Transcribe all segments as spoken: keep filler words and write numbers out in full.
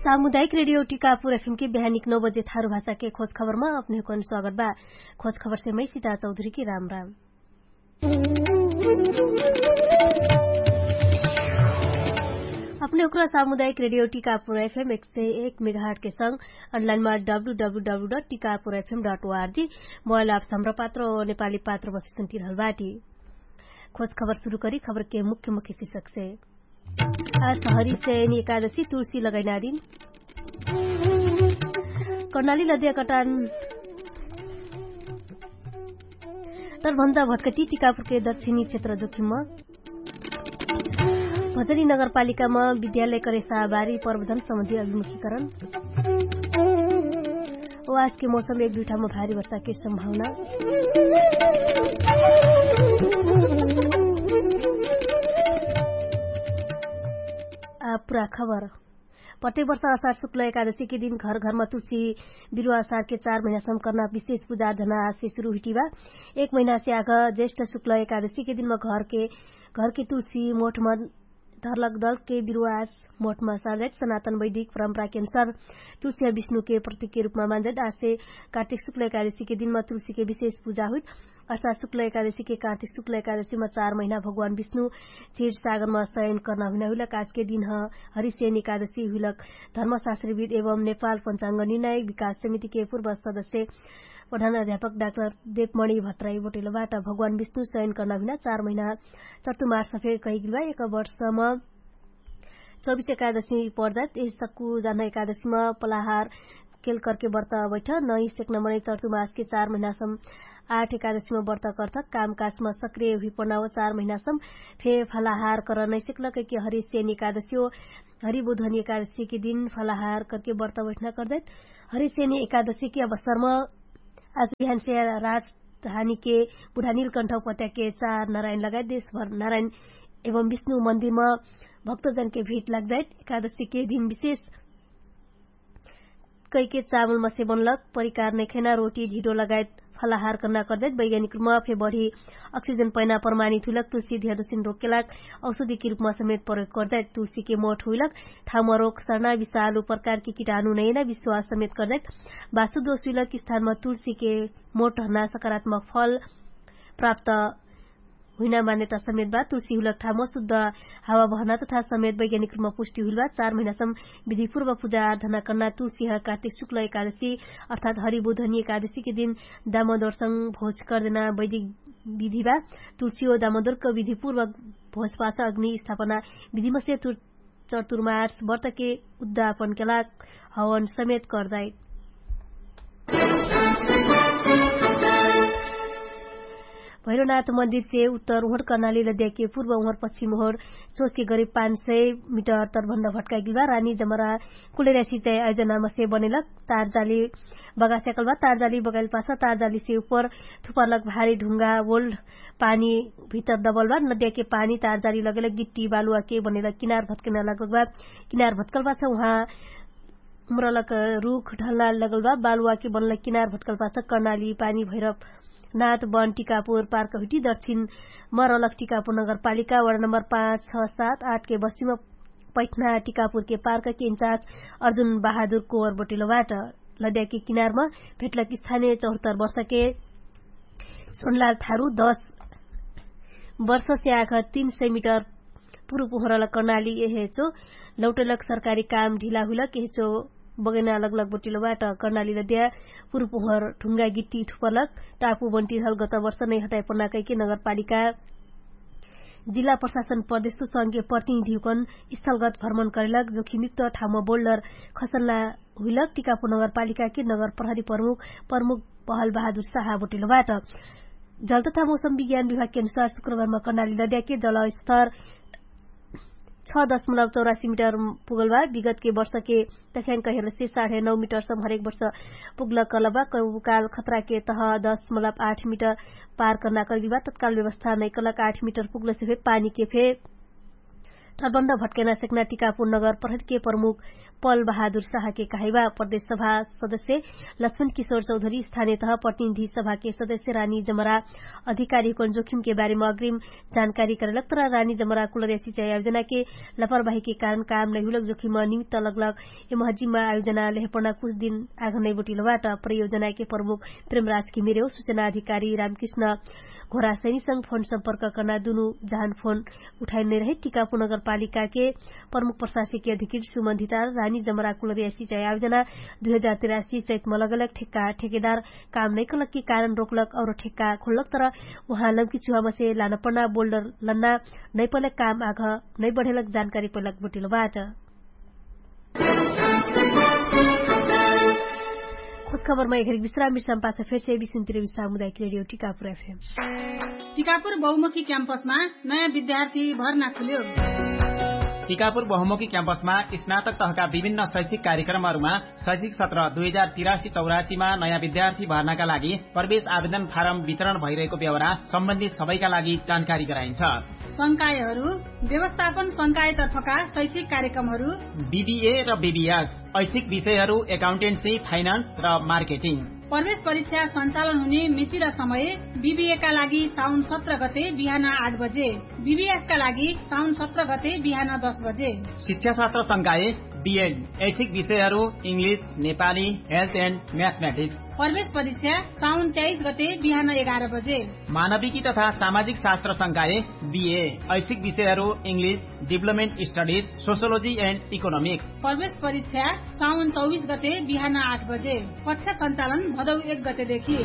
सामुदायिक रेडियो टिकापुर एफएम के बिहानिक नौ बजे थारु भाषा के खोज खबरमा अपने हुकन स्वागत बा। खोज खबर से मै सिता चौधरी के राम राम। अपने हुकरा सामुदायिक रेडियो टिकापुर एफएम एक सय एक मेगाहट के संग अनलाइनमा W W W dot Tikapur FM dot ORG mobile app सम्र पात्र नेपाली पात्र बफिसन तिरहल बाटी। खोज खबर सुरु करी खबर के मुख्य मुख्य शिक्षक से। आज हरिशयनी एकादशी तुलसी लगाइनारिन। कर्णाली लद्या कटान। तर भन्दा भटकटी टिकापुरके दक्षिणी क्षेत्र जोखिममा। भजनी नगरपालिकामा विद्यालय करेसा बारी प्रबन्धन सम्बन्धी अभिमुखीकरण। ओ आजके मौसम एक दुइठामा भारी वर्षाके सम्भावना। आ पुरा खबर। प्रत्येक वर्ष असार शुक्ल एकादशीके दिन घरघरमा तुलसी बिरुवा असारके चार महिनासम्म कर्ना विशेष पुजा अर्धना आजसे सुरु हुइटिबा। एक महिनासे आग ज्येष्ठ शुक्ल एकादशीके दिनमा घरके घरके तुलसी मोठमा धरलक दलके बिरुवास मोठमा सालजाइत सनातन वैदिक परम्पराके अनुसार तुलसिया विष्णुके प्रतीकके रूपमा मानजाइत। आसे कार्तिक शुक्ल एकादशीके दिनमा तुलसीके विशेष पुजा हुइत। अर्थात शुक्ल एकादशीके कार्तिक शुक्ल एकादशीमा चार महिना भगवान विष्णु चीर सागरमा शयन कर्ना हुइना हुइलक आजके दिन ह। हरिशयन एकादशी हुइलक धर्मशास्त्रविद एवं नेपाल पञ्चाङ्ग निर्णायक विकास समितिके पूर्व सदस्य प्रधान अध्यापक डाक्टर देवमणि भट्टराई बोटेलोबाट भगवान विष्णु शयन कर्ना हुइना चार महिना चर्तुमार्स फेर कहिगिलबा एक वर्षमा चौबिस एकादशी पर्दाइत यही सक्कु जान्हा एकादशीमा पलाहार केल करके बर्त बैठ नही सेक्न मनै चर्तुमार्सके चार महिनासम आठ एकादशीमा बर्त कर्थ। कामकाजमा सक्रिय हुइपनाओ चार महिनासम फे फलाहार कर नैसेक्ल कैके हरिशयन एकादशी हो। हरिबुधनी एकादशीके दिन फलाहार करके बर्त बैठना कर्दैत। हरिशयन एकादशीके अवसरमा आज बिहानसे राजधानीके बुढानील कण्ठौपत्याके चार नारायण लगायत देशभर नारायण एवं विष्णु मन्दिरमा भक्तजनके भिट लाग्जाइत। एकादशीके दिन विशेष कैके चामलमसे बनलक परिकार नैखैना रोटी ढिडो लगायत फलाहार कर्ना कर्दैत वैज्ञानिक रूपमा फे बढी अक्सिजन पैना प्रमाणित हुइलक तुलसी ध्यादोसिन रोकेलाक औषधिके रूपमा समेत प्रयोग कर्दैत। तुलसीके मोठ हुइलक ठाउँमा रोक सर्ना विशालु प्रकारके किटाणु नैना विश्वास समेत कर्दैत। वास्तुदोष हुइलक स्थानमा तुलसीके मोठ हर्ना सकारात्मक फल प्राप्त हुइना मान्यता समेत बा। तुलसी हुइलक ठाउँमा शुद्ध हावा बहना तथा समेत वैज्ञानिक रूपमा पुष्टि हुइलबा चार महिनासम विधिपूर्व पुजा आराधना कर्ना तुलसी ह कार्तिक शुक्ल एकादशी अर्थात हरिबुधनी एकादशीके दिन दामोदरसँग भोज कर्देना वैदिक विधिबा। तुलसी हो दामोदरको विधिपूर्व भोजपाछ अग्नि स्थापना विधिमसे चर्तुर्मार्स बर्तके उद्धापनके लाग हवन समेत कर्दाइत। भैरोनाथ मन्दिरसे उत्तर उहर कर्नाली लद्याके पूर्व उहर पश्चिम उहर सोचके गरीब पाँच सय मिटर तरभन्दा भट्काइगेल बा। रानी जमरा कुलेर्यासी चाहे अयोजनामसे बनेलक तारजाली बगास्याकल बा। तारजाली बगाइल पाछ तारजालीसे उपर थुपरलक भारी ढुङ्गा वोल्ड पानी भितर दबल बा। नद्याके पानी तारजाली लगेलक गिट्टी बालुवाके बनेलक किनार भत्कना लगल बा। किनार भत्कल पाछ उहाँ मरलक रुख ढल्ला लगल बा। बालुवाके बनलक किनार भत्कल पाछ कर्नाली पानी भैरव नाथ वन टिकापुर पार्क हुइटी दक्षिण मरलक टिकापुर नगरपालिका वडा नम्बर पाँच छ सात आठके बस्तीमा पैठना टिकापुरके पार्कके इन्चार्ज अर्जुन बहादुर कोवर बोटेलोबाट लद्याके किनारमा भेटलक स्थानीय चौहत्तर वर्षके सोनलाल थारु दस वर्षसे आख तीन सय मिटर पुरुप उहरलक कर्नाली एहेचो लौटेलक सरकारी काम ढिला हुइलक एहेचो बगैना लगलग बोटिलोबाट कर्नाली लद्या पुरुप उहर ढुङ्गा गिट्टी थुपलक टापु बन्टिरहल गत वर्ष नै हटाइ पर्ना कैके नगरपालिका जिल्ला प्रशासन प्रदेशको संघीय प्रतिनिधिहुकन स्थलगत भ्रमण करेलक जोखिमयुक्त ठाउँमा बोल्डर खसल्ला हुइलक टिकापुर नगरपालिकाके नगर प्रहरी प्रमुख प्रमुख बहल बहादुर साहा बोटिलोबाट। जल तथा मौसम विज्ञान विभागके अनुसार शुक्रबारमा कर्नाली लद्याके जलस्तर छ दशमलव चौरासी मिटर पुगल बा। विगतके वर्षके तख्याङ्क हेर्लसे साढे नौ मिटरसम्म हरेक वर्ष पुग्ल कलबा कौकाल खतराके तह दशमलव आठ मिटर पार कर्ना कर्गिल बा। तत्काल व्यवस्था नैकलक आठ मिटर पुग्लसे फे पानीके फे तटबन्ध भट्कैना सेक्ना टिकापुर नगर प्रहरीके प्रमुख पल बहादुर साहके कहाइबा प्रदेश सभा सदस्य लक्ष्मण किशोर चौधरी स्थानियतह प्रतिनिधि सभाके सदस्य रानी जमरा अधिकारीकन जोखिमके बारेमा अग्रिम जानकारी करैलक तर रानी जमरा कुलर्या सिचाइ आयोजनाके लापरवाहीके कारण काम नैहुलक जोखिम निमित्त लगलक। यमहजिममा आयोजना लेहपना कुछ दिन आघ नैबोटिलबाट प्रयोजनाके प्रमुख प्रेमराज किमिरेउ सुचना अधिकारी रामकृष्ण घोरासैनीसँग फोन सम्पर्क कर्ना दुनु जहान फोन उठाइन नैरहे टिकापु नगरपालिकाके प्रमुख प्रशासकीय अधिकृत सुमन्धितार रानी जमरा कुलर्या सिचाइ आयोजना दुइ हजार तिरासी चैतमा लगलक ठेक्का ठेकेदार काम नैकलकके कारण रोकलक और ठेक्का खोल्लक तर उहाँ लम्की चुहामसे लानपना बोल्डर लन्ना नैपलक काम आघ नैबढेलक जानकारी पैलक बोटिलबाट। खुशखबरमा एघरिक विश्राम विश्राम पाछ फेरसे बिसुन्तिरबी सामुदायिक रेडियो टिकापुर एफएम। टिकापुर बहुमुखी क्याम्पसमा नयाँ विद्यार्थी भर्ना खुल्यो। टिकापुर बहुमुखी क्याम्पसमा स्नातक तहका विभिन्न शैक्षिक कार्यक्रमहरूमा शैक्षिक सत्र दुई हजार तिरासी चौरासीमा नयाँ विद्यार्थी भर्नाका लागि प्रवेश आवेदन फारम वितरण भइरहेको बेहोरा सम्बन्धित सबैका लागि जानकारी गराइन्छ। संकायहरू व्यवस्थापन संकायतर्फका शैक्षिक कार्यक्रमहरू बिबिए र बिबिएस ऐच्छिक विषयहरू एकाउन्टेन्सी फाइनान्स र मार्केटिङ। प्रवेश परीक्षा सञ्चालन हुने मिति र समय बिबिएका लागि साउन सत्र गते बिहान आठ बजे, बिबिएसका लागि साउन सत्र गते बिहान दस बजे। शिक्षाशास्त्र संकाय बिएड ऐच्छिक विषयहरू इङ्ग्लिस, नेपाली, हेल्थ एन्ड म्याथमेटिक्स। प्रवेश परीक्षा साउन तेइस गते बिहान एघार बजे। मानविकी तथा सामाजिक शास्त्र संकाय बिए ऐच्छिक विषयहरू English, deployment studies, sociology end economics. प्रवेश परीक्षा साउन चौबिस गते बिहान आठ बजे। कक्षा सञ्चालन भदौ एक गतेदेखि।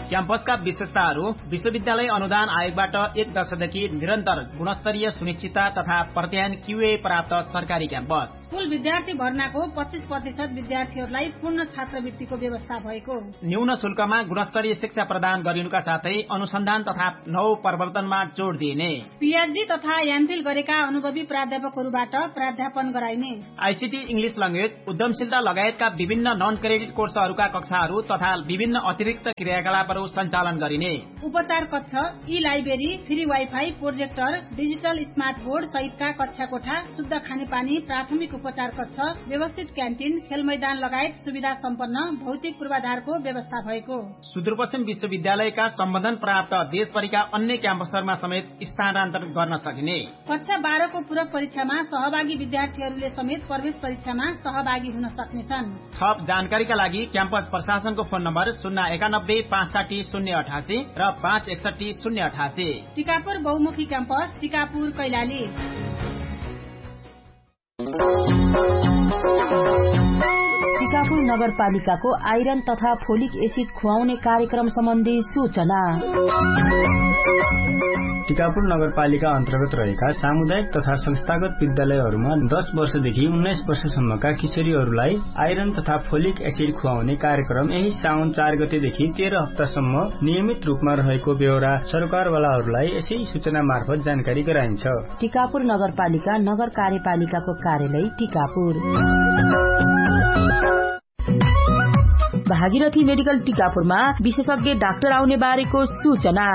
क्याम्पसका विशेषताहरू विश्वविद्यालय अनुदान आयोगबाट एक दशकदेखि निरन्तर गुणस्तरीय सुनिश्चितता तथा प्रत्यायन क्युए प्राप्त सरकारी क्याम्पस। कुल विद्यार्थी भर्नाको पच्चिस प्रतिशत विद्यार्थीहरूलाई पूर्ण छात्रवृत्तिको व्यवस्था भएको। न्यून शुल्कमा गुणस्तरीय शिक्षा प्रदान गरिनुका साथै अनुसन्धान तथा नौ प्रवर्तनमा जोड दिइने। पिएचडी तथा एमफिल गरेका अनुभवी प्राध्यापकहरूबाट प्राध्यापन गराइने। आइसिटी इङ्ग्लिस लङ्गेज उद्यमशीलता लगायतका विभिन्न नन क्रेडिट कोर्सहरूका कक्षाहरू तथा विभिन्न अतिरिक्त क्रियाकलापहरू सञ्चालन गरिने। उपचार कक्ष, ई library, free wifi, projector, digital smart board सहितका कक्षा कोठा, शुद्ध खानेपानी, प्राथमिक उपचार कक्ष, व्यवस्थित क्यान्टिन, खेलमैदान लगायत सुविधा सम्पन्न भौतिक पूर्वाधारको व्यवस्था भएको। सुदूरपश्चिम विश्वविद्यालयका सम्बन्धन प्राप्त देशभरिका अन्य क्याम्पसहरूमा समेत स्थानान्तर गर्न सकिने। कक्षा बाह्रको पूरक परीक्षामा सहभागी विद्यार्थीहरूले समेत प्रवेश परीक्षामा सहभागी हुन सक्नेछन्। थप जानकारीका लागि क्याम्पस प्रशासनको फोन नम्बर शून्य एकानब्बे पाँच साठी शून्य अठासी र पाँच एकसट्ठी शून्य अठासी। टिकापुर बहुमुखी क्याम्पस, टिकापुर कैलाली। टिकापुर नगरपालिकाको आइरन तथा फोलिक एसिड खुवाउने कार्यक्रम सम्बन्धी सूचना। टिकापुर नगरपालिका अन्तर्गत रहेका सामुदायिक तथा संस्थागत विद्यालयहरूमा दस वर्षदेखि उन्नाइस वर्षसम्मका किशोरीहरूलाई आइरन तथा फोलिक एसिड खुवाउने कार्यक्रम यही साउन चार गतेदेखि तेह्र हप्तासम्म नियमित रूपमा रहेको बेहोरा सरकारवालाहरूलाई यसै सूचना मार्फत जानकारी गराइन्छ। टिकापुर नगरपालिका नगर कार्यपालिकाको कार्यालय टिकापुर। भागीरथी मेडिकल टिकापुरमा विशेषज्ञ डाक्टर आउने बारेको सूचना।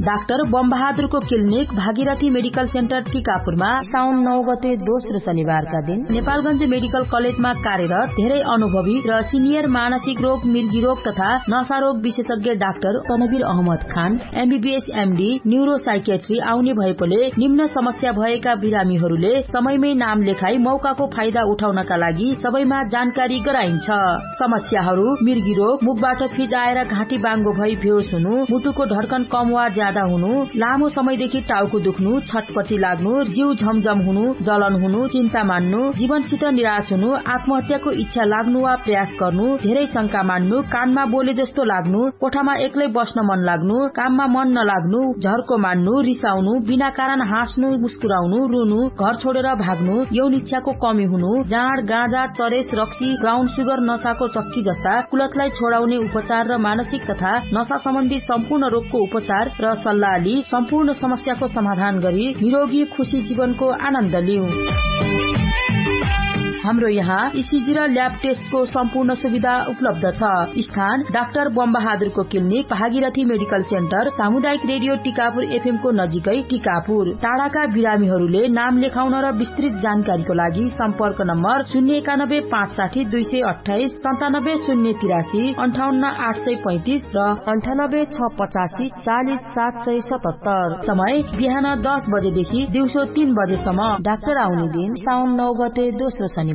डाक्टर बमबहादुरको क्लिनिक भागीरथी मेडिकल सेन्टर टिकापुरमा साउन नौ गते दोस्रो शनिबारका दिन नेपालगञ्ज मेडिकल कलेजमा कार्यरत धेरै अनुभवी र सिनियर मानसिक रोग मिर्गी रोग तथा नशा रोग विशेषज्ञ डाक्टर तनवीर अहमद खान एमबीबीएस एमडी न्युरोसाइकेट्री आउने भएकोले निम्न समस्या भएका बिरामीहरूले समयमै नाम लेखाई मौकाको फाइदा उठाउनका लागि सबैमा जानकारी गराइन्छ। समस्याहरू मिर्गी रोग मुखबाट फिजाएर घाँटी बाङ्गो भई भेउस हुनु, मुटुको ढड्कन कम वा ज्यादा हुनु, लामो समयदेखि टाउको दुख्नु, छटपटी लाग्नु, जिउ झमझम हुनु, जलन हुनु, चिन्ता मान्नु, जीवनसित निराश हुनु, आत्महत्याको इच्छा लाग्नु वा प्रयास गर्नु, धेरै शंका मान्नु, कानमा बोले जस्तो लाग्नु, कोठामा एक्लै बस्न मन लाग्नु, काममा मन नलाग्नु, झर्को मान्नु, रिसाउनु, बिना कारण हाँस्नु, मुस्कुराउनु, रुनु, घर छोडेर भाग्नु, यौन इच्छाको कमी हुनु, जाँड गाँजा चरेस रक्सी ब्राउन सुगर नसाको चक्की जस्ता कुलतलाई छोडाउने उपचार र मानसिक तथा नसा सम्बन्धी सम्पूर्ण रोगको उपचार र सल्लाह लि सम्पूर्ण समस्याको समाधान गरी निरोगी खुशी जीवनको आनन्द लिउ। हाम्रो यहाँ इसिजी र ल्याब टेस्टको सम्पूर्ण सुविधा उपलब्ध छ। स्थान डाक्टर बमबहादुरको क्लिनिक, भागीरथी मेडिकल सेन्टर, सामुदायिक रेडियो टिकापुर एफएमको नजिकै टिकापुर। टाढाका बिरामीहरूले नाम लेखाउन र विस्तृत जानकारीको लागि सम्पर्क नम्बर शून्य एकानब्बे पाँच साठी दुई सय अट्ठाइस, सन्तानब्बे शून्य तिरासी, अन्ठाउन्न आठ सय पैँतिस र अन्ठानब्बे छ पचासी चालिस सात सय सतहत्तर। समय बिहान दस बजेदेखि दिउँसो तीन बजेसम्म। डाक्टर आउने दिन साउन नौ गते, दोस्रो शनिबार।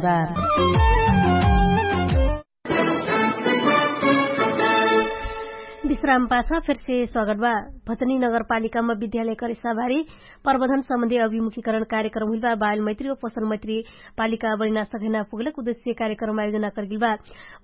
विश्राम पाछ फेरसे स्वागत बा। भचनी नगरपालिकामा विद्यालय करेसाभारी प्रबन्धन सम्बन्धी अभिमुखीकरण कार्यक्रम हुइल बा। बाल मैत्री व पोषण मैत्री पालिका बनिना सघैना पुगलक उद्देश्य कार्यक्रम आयोजना करगिल बा।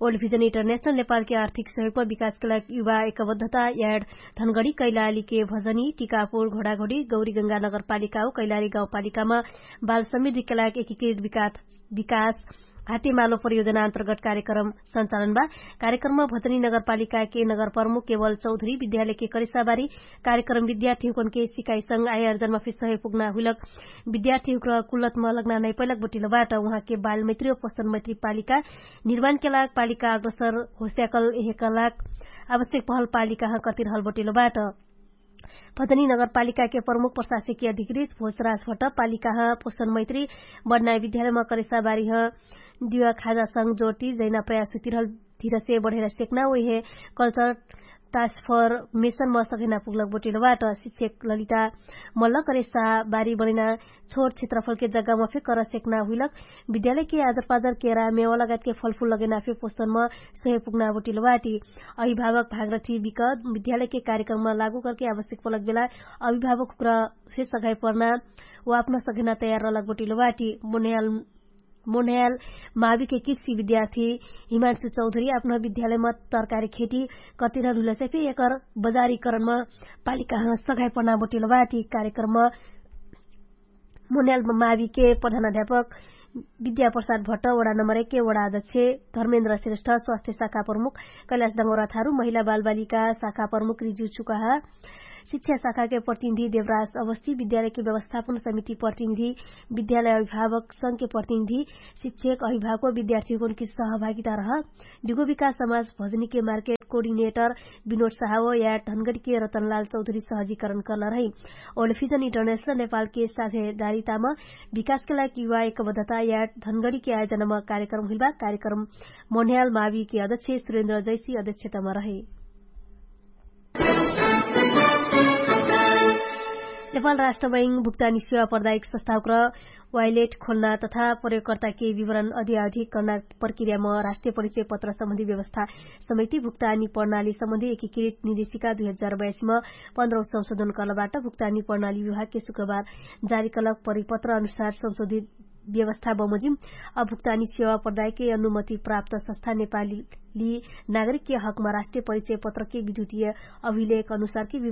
ओल्ड भिजन इन्टरनेशनल नेपालके आर्थिक सहयोगमा विकासके लागि युवा एकबद्धता याड धनगढी कैलालीके भजनी टिकापुर घोडाघोडी गौरीगंगा नगरपालिका हो कैलाली गाउँपालिकामा बाल समृद्धिके लागि एकीकृत विकास विकास हातेमालो परियोजना अन्तर्गत कार्यक्रम सञ्चालन बा। कार्यक्रममा भचनी नगरपालिकाके नगरप्रमुख केवल चौधरी विद्यालयके करिसाबारी कार्यक्रम विद्यार्थीहुकनके सिकाइसँग आयोर्जनमा फिर सहयोग पुग्ना हुइलक विद्यार्थीहुकर कुलतमा लग्ना नैपैलक बटिलो बाट। उहाँके बालमैत्री व पोषण मैत्री पालिका निर्माणके लाग पालिका अग्रसर होस्याकल एहेकलाग आवश्यक पहल पालिकाह कतिरहल बटिलो बाट। भजनी नगरपालिकाके प्रमुख प्रशासकीय अधिकृत भोजराज भट्ट पालिकाह पोषण मैत्री बढनाय विद्यालयमा करेसाबारीह दिवा खाजासँग जोटी जैना प्रयास हुतिरहल धिरसे बढेर सेक्ना ओहे कल्चर टास्फर मेसनमा सघैना पुग्लक बोटिलो बाट। शिक्षक ललिता मल्ल करेसाबारी बढैना छोट क्षेत्रफलके जग्गामा फे कर सेक्ना हुइलक विद्यालयके आजरपाजर केरा मेवा लगायतके फलफुल लगैना फे पोषणमा सहयोग पुग्ना बोटिलो बाटी। अभिभावक भागरथी विकत विद्यालयके कार्यक्रममा लागू करके आवश्यक पलक बेला अभिभावक हुक्रा फे सघाइ पर्ना वा अपना सघैना तयार रहलक बोटिलो बाटी। मोन्याल मोन्याल माविके किसी विद्यार्थी हिमान्सु चौधरी अपना विद्यालयमा तरकारी खेती कतिरहल हुइलसे फे एकर बजारीकरणमा पालिकाह सघाइ पर्ना बोटिलो बाटी। कार्यक्रममा मोन्याल माविके प्रधान अध्यापक विद्याप्रसाद भट्ट वडा नम्बर एके वडा अध्यक्ष धर्मेन्द्र श्रेष्ठ स्वास्थ्य शाखा प्रमुख कैलाश डङ्गोरा थारु महिला बालबालिका शाखा प्रमुख रिजु छुकाहा शिक्षा शाखाके प्रतिनिधि देवराज अवस्थी विद्यालयके व्यवस्थापन समिति प्रतिनिधि विद्यालय अभिभावक संघके प्रतिनिधि शिक्षक अभिभावक विद्यार्थीको सहभागिता रह बिगो विकास समाज भजनीके मार्केट कोर्डिनेटर विनोद साहव या ढनगडीके रतनलाल चौधरी सहजीकरण कर्ना रही। ओलफिजन इन्टरनेशनल नेपालके साझेदारितामा विकासके लागि युवा एकबद्धता या ढनगडीके आयोजनामा कार्यक्रम हुइलबा। कार्यक्रम मोन्याल माविके अध्यक्ष सुरेन्द्र जैसी अध्यक्षतामा रहे। नेपाल राष्ट्रबैङ भुक्तानी सेवा प्रदायक संस्थावक्र वाइलेट खोल्ना तथा प्रयोगकर्ताके विवरण अधियाधिक कर्ना प्रक्रियामा राष्ट्रिय परिचय पत्र सम्बन्धी व्यवस्था समिति भुक्तानी प्रणाली सम्बन्धी एकीकृत निर्देशिका दुई हजार बयासीमा पन्ध्रौ संशोधन कर्लबाट भुक्तानी प्रणाली विभागके शुक्रबार जारी कर्लक परिपत्र अनुसार संशोधित व्यवस्था बमोजिम अभुक्तानी सेवा प्रदायके अनुमति प्राप्त संस्था नेपाली नागरिकके हकमा राष्ट्रिय परिचय पत्रके विद्युतीय अभिलेख अनुसारके विवरण